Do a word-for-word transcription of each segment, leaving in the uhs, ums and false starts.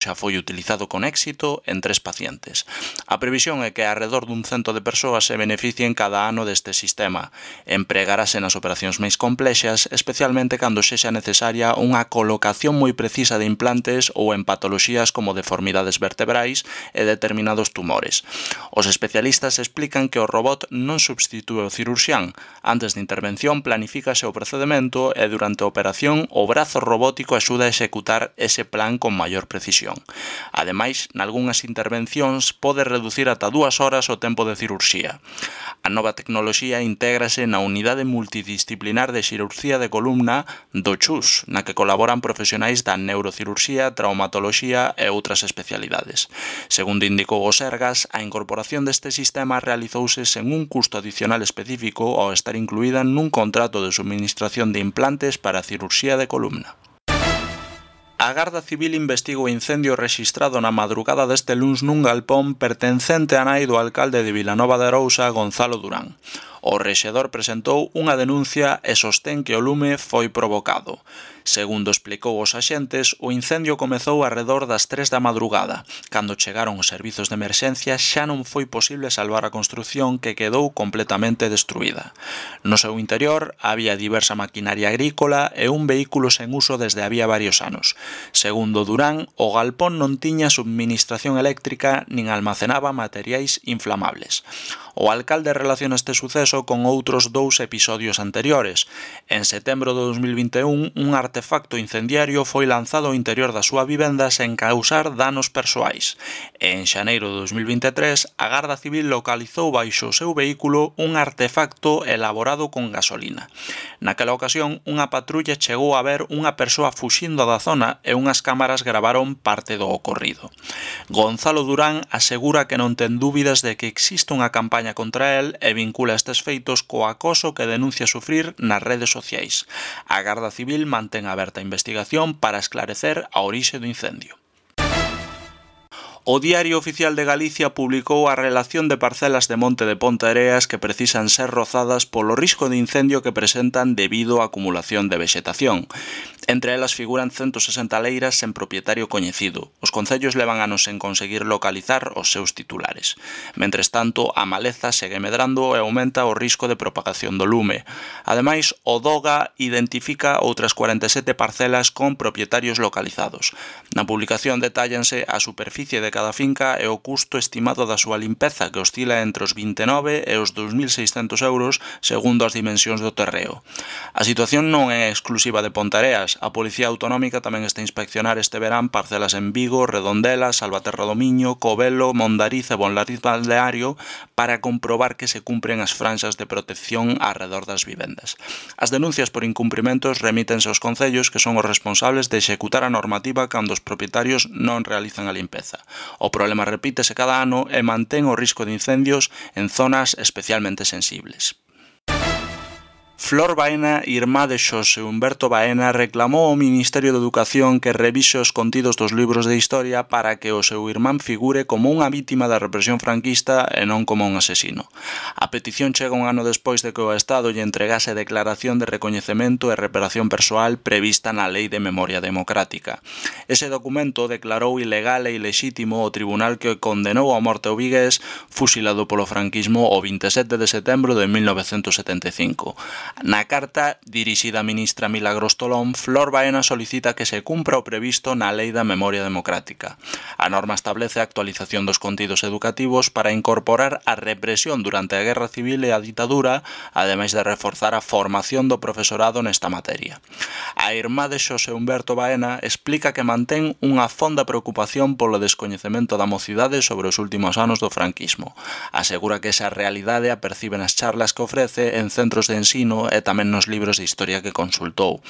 xa foi utilizado con éxito en tres pacientes. A previsión é que arredor dun cento de persoas se beneficien cada ano deste sistema. Empregarase nas operacións máis complexas, especialmente cando sexa necesaria unha colocación moi precisa de implantes ou en patoloxías como deformidades vertebrais e determinados tumores. Os especialistas explican que o robot non substitúe o cirurxián. Antes de intervención planifícase o procedimento e durante a operación o brazo robótico axuda a executar ese plan con maior precisión. Ademais, nalgúnas intervencións pode reducir ata dúas horas o tempo de cirurxía. A nova tecnoloxía intégrase na Unidade Multidisciplinar de Xirurxía de Columna do Chus, na que colaboran profesionais da neurocirurxía, traumatoloxía e outras especialidades. Segundo indicou o Sergas, a incorporación deste sistema realizouse sen un custo adicional específico ao estar incluída nun contrato de suministración de implantes para a cirurxía de columna. A Garda Civil investiga o incendio rexistrado na madrugada deste luns nun galpón pertencente á nai do alcalde de Vilanova de Arousa, Gonzalo Durán. O rexedor presentou unha denuncia e sostén que o lume foi provocado. Segundo explicou os axentes, o incendio comezou arredor das tres da madrugada. Cando chegaron os servizos de emerxencia xa non foi posible salvar a construción que quedou completamente destruída. No seu interior había diversa maquinaria agrícola e un vehículo sen uso desde había varios anos. Segundo Durán, o galpón non tiña subministración eléctrica nin almacenaba materiais inflamables. O alcalde relaciona este suceso con outros dous episodios anteriores. En setembro de dos mil vinte e un, un artefacto incendiario foi lanzado ao interior da súa vivenda sen causar danos persoais. E en xaneiro de dos mil vinte e tres, a Garda Civil localizou baixo o seu vehículo un artefacto elaborado con gasolina. Naquela ocasión, unha patrulla chegou a ver unha persoa fuxindo da zona e unhas cámaras gravaron parte do ocorrido. Gonzalo Durán asegura que non ten dúbidas de que existe unha campaña contra el e vincula estes feitos co acoso que denuncia sufrir nas redes sociais. A Garda Civil mantén aberta a investigación para esclarecer a orixe do incendio. O Diario Oficial de Galicia publicou a relación de parcelas de monte de Ponteareas que precisan ser rozadas polo risco de incendio que presentan debido á acumulación de vexetación. Entre elas figuran ciento sesenta leiras sen propietario coñecido. Os concellos levan anos sen conseguir localizar os seus titulares. Mentres tanto, a maleza segue medrando e aumenta o risco de propagación do lume. Ademais, o DOGA identifica outras cuarenta e sete parcelas con propietarios localizados. Na publicación detállanse a superficie de cada finca e o custo estimado da súa limpeza, que oscila entre os vinte e nove e os dous mil seiscentos euros segundo as dimensións do terreo. A situación non é exclusiva de Ponteareas. A Policía Autonómica tamén está a inspeccionar este verán parcelas en Vigo, Redondela, Salvaterra do Miño, Covelo, Mondariz e Bonlariz Balneario para comprobar que se cumpren as franxas de protección arredor das vivendas. As denuncias por incumprimentos remítense aos concellos que son os responsables de executar a normativa cando os propietarios non realizan a limpeza. O problema repítese cada ano e mantén o risco de incendios en zonas especialmente sensibles. Flor Baena, irmá de Xosé Humberto Baena, reclamou ao Ministerio de Educación que revise os contidos dos libros de historia para que o seu irmán figure como unha vítima da represión franquista e non como un asesino. A petición chega un ano despois de que o Estado lle entregase a declaración de recoñecemento e reparación persoal prevista na Lei de Memoria Democrática. Ese documento declarou ilegal e ilexítimo o tribunal que condenou á morte ao vigués, fusilado polo franquismo o vinte e sete de setembro de mil novecentos setenta e cinco. Na carta dirixida á ministra Milagros Tolón, Flor Baena solicita que se cumpra o previsto na Lei da Memoria Democrática. A norma establece a actualización dos contidos educativos para incorporar a represión durante a Guerra Civil e a ditadura, ademais de reforzar a formación do profesorado nesta materia. A irmá de Xosé Humberto Baena explica que mantén unha fonda preocupación polo descoñecemento da mocidade sobre os últimos anos do franquismo. Asegura que esa realidade a percibe nas charlas que ofrece en centros de ensino e tamén nos libros de historia que consultou.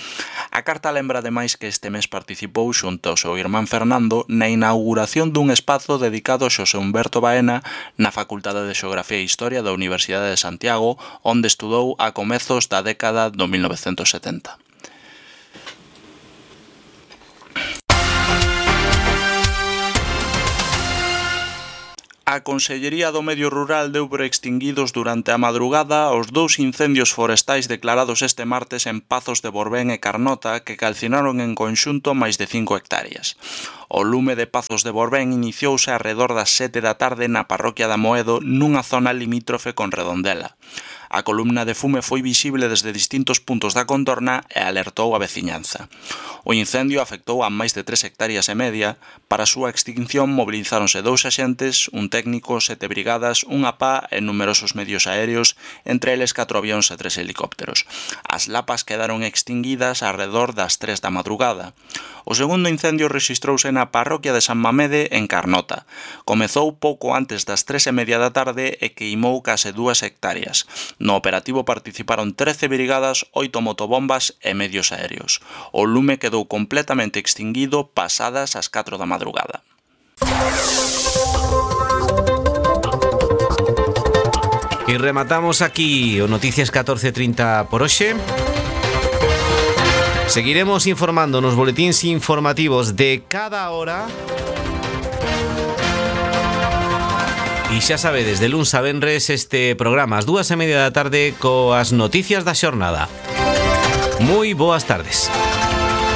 A carta lembra ademais que este mes participou xunto ao seu irmán Fernando na inauguración dun espazo dedicado a Xosé Humberto Baena na Facultade de Xeografía e Historia da Universidade de Santiago, onde estudou a comezos da década do mil novecentos setenta. A Consellería do Medio Rural deu por extinguidos durante a madrugada os dous incendios forestais declarados este martes en Pazos de Borbén e Carnota que calcinaron en conxunto máis de cinco hectáreas. O lume de Pazos de Borbén iniciouse arredor das sete da tarde na parroquia de Amoedo nunha zona limítrofe con Redondela. A columna de fume foi visible desde distintos puntos da contorna e alertou a veciñanza. O incendio afectou a máis de tres hectáreas e media. Para a súa extinción mobilizáronse dous axentes, un técnico, sete brigadas, unha pá e numerosos medios aéreos, entre eles catro avións e tres helicópteros. As lapas quedaron extinguidas arredor das tres da madrugada. O segundo incendio rexistrouse na parroquia de San Mamede, en Carnota. Comezou pouco antes das tres e media da tarde e queimou case dúas hectáreas. No operativo participaron trece brigadas, oito motobombas e medios aéreos. O lume quedou completamente extinguido pasadas as catro da madrugada. E rematamos aquí o Noticias catorce trinta por hoxe. Seguiremos informando nos boletíns informativos de cada hora. E xa sabedes, de luns a venres este programa ás dúas e media da tarde coas noticias da xornada. Moi boas tardes.